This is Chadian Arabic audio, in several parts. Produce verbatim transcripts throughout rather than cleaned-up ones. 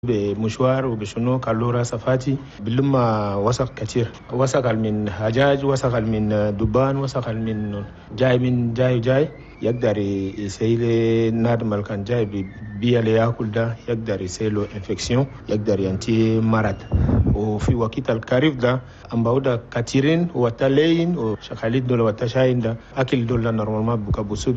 بمشوار وبشنو كالورا صفاتي بلما وسخ كتير، وسخ من هجاج، وسخ من دبان، وسخ من جاي من جاي جاي يقدر يسيل نادم كان جاي بيا اللي ياكل ده يقدر يسيله infection، يقدر ينتهي مرض. وفي وقت الخريف ده أمباودا كثيرين وتلين وشخاليد دول وتشاين ده أكل دول normalement بكبسوا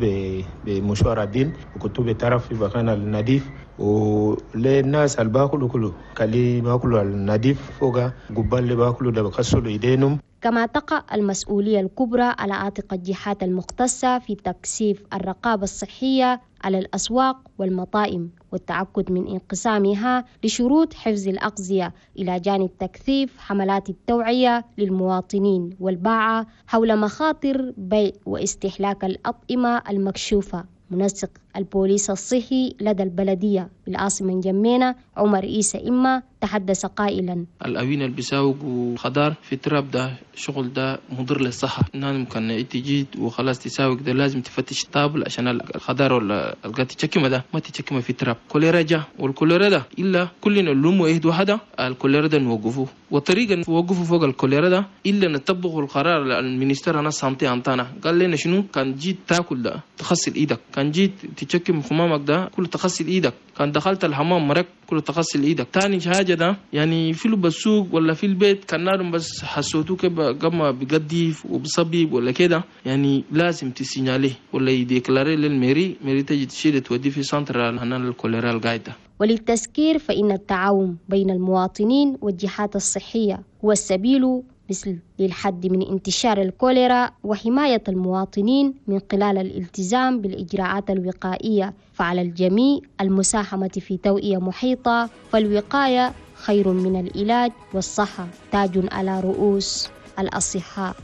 بمشوار عديل وكتو بطرف في مكان النظيف، وللناس اللي باكلوا كله كلي باكلوا النظيف فوق قبال اللي باكلوا ده بكسلوا ايدينهم. كما تقع المسؤولية الكبرى على عاتق الجهات المختصة في تكثيف الرقابة الصحية على الأسواق والمطاعم والتأكد من انقسامها لشروط حفظ الأغذية، إلى جانب تكثيف حملات التوعية للمواطنين والباعة حول مخاطر بيع واستهلاك الأطعمة المكشوفة. منسق البوليس الصحي لدى البلدية بالعاصمة نجمينة عمر إيسى إما تحدث قائلا: الأوين اللي بيساوق وخضار في تراب ده شغل ده مضر للصحة، نحن ممكن تجي وخلاص تساوق ده لازم تفتش طابل عشان الخضار ولا القات تشكمه ده ما تشكمه في تراب. كوليرا جا والكوليرا ده إلا كلنا نلوم واحد وحدة الكوليرا ده نوقفه، والطريقة نوقفه فوق الكوليرا ده إلا نطبقه القرار ال ministère هنا santé أنتانا قال لنا شنو كان جيت تاكل ده تغسل إيدك، كان جيت تشكم خمامك ده كله تغسل إيدك، كان دخلت الحمام مرك كله تغسل إيدك. تاني حاجة ده يعني في السوق ولا في البيت كان نارم بس حسوتو كده قام بقديف وبصبيب ولا كده يعني لازم ت signaler ولا ي déclarer لل mairie، mairie تجي تشيل تودي في centre هنا الكوليرا القاعدة. وللتذكير فإن التعاون بين المواطنين والجهات الصحية هو السبيل مثل للحد من انتشار الكوليرا وحماية المواطنين من خلال الالتزام بالإجراءات الوقائية، فعلى الجميع المساهمة في توعية محيطة، فالوقاية خير من العلاج والصحة تاج على رؤوس الأصحاء.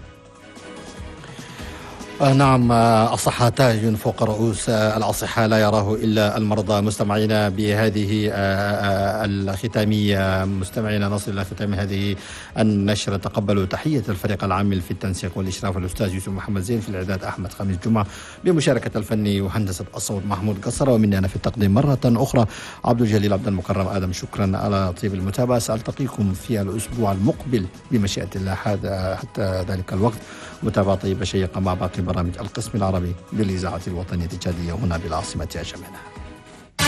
آه نعم، الصحة تاج فوق رؤوس الأصحاء لا يراه إلا المرضى. مستمعينا بهذه الختامية مستمعينا نصل إلى ختام هذه النشرة. تقبلوا تحية الفريق العامل في التنسيق والإشراف الأستاذ يوسف محمد زين، في الإعداد أحمد خميس جمعة، بمشاركة الفني وهندسة الصوت محمود قصرة، ومني أنا في التقديم مرة أخرى عبد الجليل عبد المكرم آدم. شكرا على طيب المتابعة، سألتقيكم في الأسبوع المقبل بمشيئة الله. حتى ذلك الوقت متابعة طيبة شيقة مع باقي برامج القسم العربي للإذاعة الوطنية التشادية هنا بالعاصمة أنجمينا.